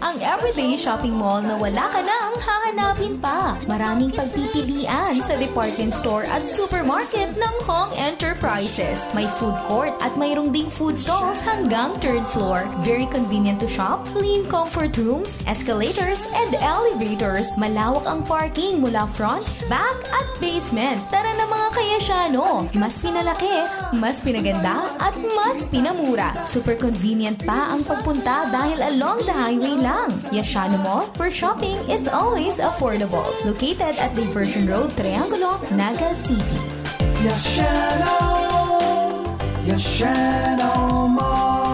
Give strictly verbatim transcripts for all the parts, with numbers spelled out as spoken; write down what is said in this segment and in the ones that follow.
Ang everyday shopping mall na wala ka nang hahanapin pa. Maraming pagpipilian sa department store at supermarket ng Hong Enterprises. May food court at mayroong ding food stalls hanggang third floor. Very convenient to shop, clean comfort rooms, escalators, and elevators. Malawak ang parking mula front, back, at basement. Tara na, mga kayasyano! Mas pinalaki, mas pinaganda, at mas pinamura. Super convenient pa ang pagpunta dahil along the highway lang. Yashano Mall, where shopping is always affordable. Located at Diversion Road, Triangulo, Naga City. Yashano! Yashano Mall!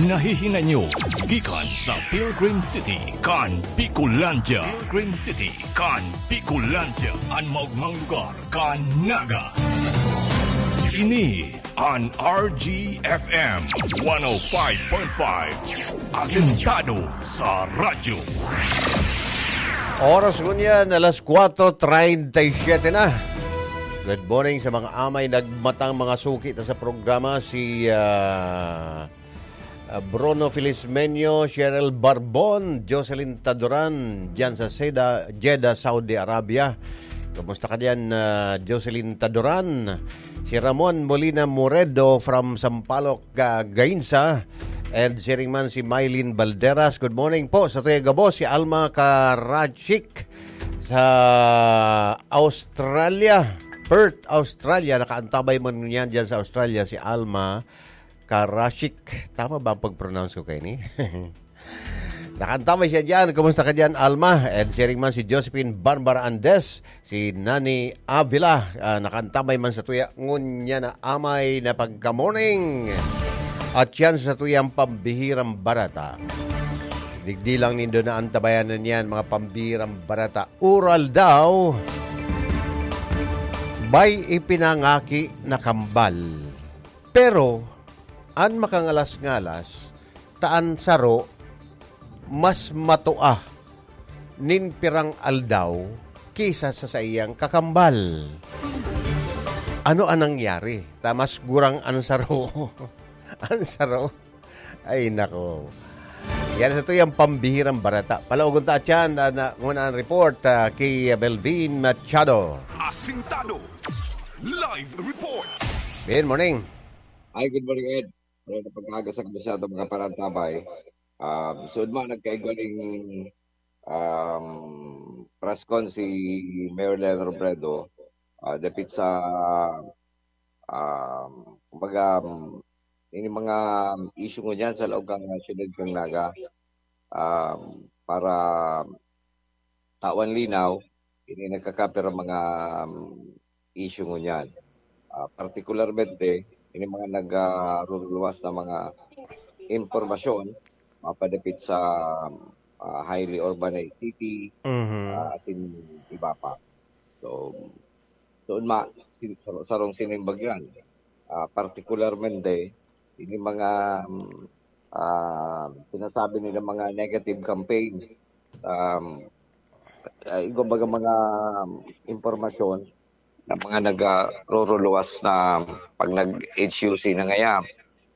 Nahihinay nyo gikan sa Pilgrim City kan Bicolandia. Pilgrim City kan Bicolandia, an maogmang lugar kan Naga. Ini an R G F M one oh five point five, asentado sa radyo. Oras ngunyan, alas kwatro treinta y siete na. Good morning sa mga amay nagmatang mga suki ta sa programa, si, ah, ah, Bruno Felizmenio, Cheryl Barbon, Jocelyn Taduran, diyan sa Seda, Jeddah, Saudi Arabia. Kumusta ka diyan, ah, Jocelyn Taduran? Si Ramon Molina Moredo from Sampaloc, ah, Gainsa. And siring man si Mylene Balderas. Good morning po sa tuya gabos, si Alma Karachik sa Australia. Perth, Australia. Nakaantabay man niyan dyan sa Australia, si Alma Karashik. Tama ba ang pag-pronounce ko kaini? Nakaantabay siya dyan. Kumusta ka dyan, Alma? And siring man si Josephine Barbara Andes, si Nani Avila. Ah, nakaantabay man sa tuya ngunyan na amay na pagka-morning. At yan sa tuyang pambihirang barata. Digdi lang nindo na antabayanan yan, mga pambihirang barata. Ural daw, may ipinangaki na kambal. Pero, an makangalas-ngalas, ta an saro mas matua nin pirang aldaw ki sa, sa saiyang kakambal. Ano an nangyari? Ta mas gurang an saro. An saro. Ay, nako. Yan sa tuyang pambihirang barata. Palaogon ta, tiyan, na, na, muna ang report, ah, kay Melvin Machado. Asintado. Live report. Good morning. Hi, good morning, Ed. Wala na pag-aaga sa kabisado, mga parantabay. Um, so, man, nagkaigwaling, um, press con si Mayor Leno Robredo, ah, dapit sa, um, kumbaga, um, ini mga issue ngunyan sa laog kan syudad kan Naga, um, para tawan linaw, ini nagkakapira mga, um, issue ngunyan. Ah, partikularmente, ini mga nagruruluwas na mga impormasyon mapadapit sa, ah, highly urbanized city, Mhm. ah, asin iba pa. So, so ma-, si-, sar-, sarong sinimbag yan. Ah, partikularmente, ini mga, um, ah, sinasabi nila mga negative campaign. Um, ah, kumbaga mga, um, impormasyon na mga nagruruluwas na pag nag-H U C na ngaya,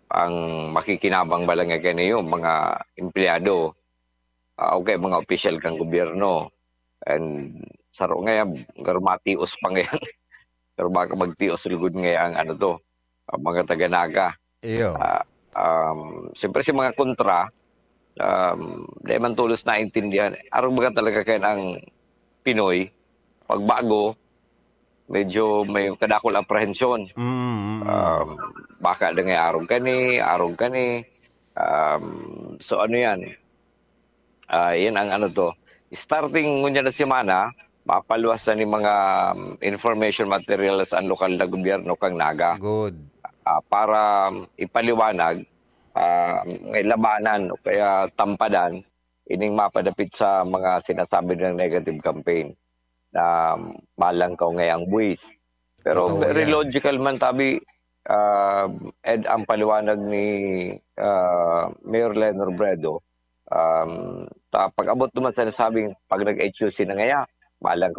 ang makikinabang ba lang kaniyo, mga empleyado. Ah, okay, mga opisyal kan gobyerno. And saro ngaya, garo matios pa ngayan. Pero baka magtios lugod ngaya ang ano to, ang mga taga-Naga. Iyo. Ah, um, siyempre, si mga kontra, um, di man tolos naintindihan. Arog baga talaga kaya ang Pinoy, pagbago, medyo may kadakol apprehension. Mm, mm, mm. Um, baka na nga arog kani, arog kani. Um, so ano yan? Ah, yan ang ano to. Starting ngunyan na semana, mapaluwas na ni mga, um, information materials ang lokal na gobyerno kang Naga. Good. Ah, para, um, ipaliwanag, ah, may labanan o kaya tampadan ining mapadapit sa mga sinasabi ng negative campaign na malangkaw ngayang buwis. Pero Totoo very yan. Logical man, tabi, ah, Ed, ang paliwanag ni, ah, Mayor Leno Robredo, um, ta-, pag-abot naman sa nasabing pag nag-H U C na ngaya, malangkaw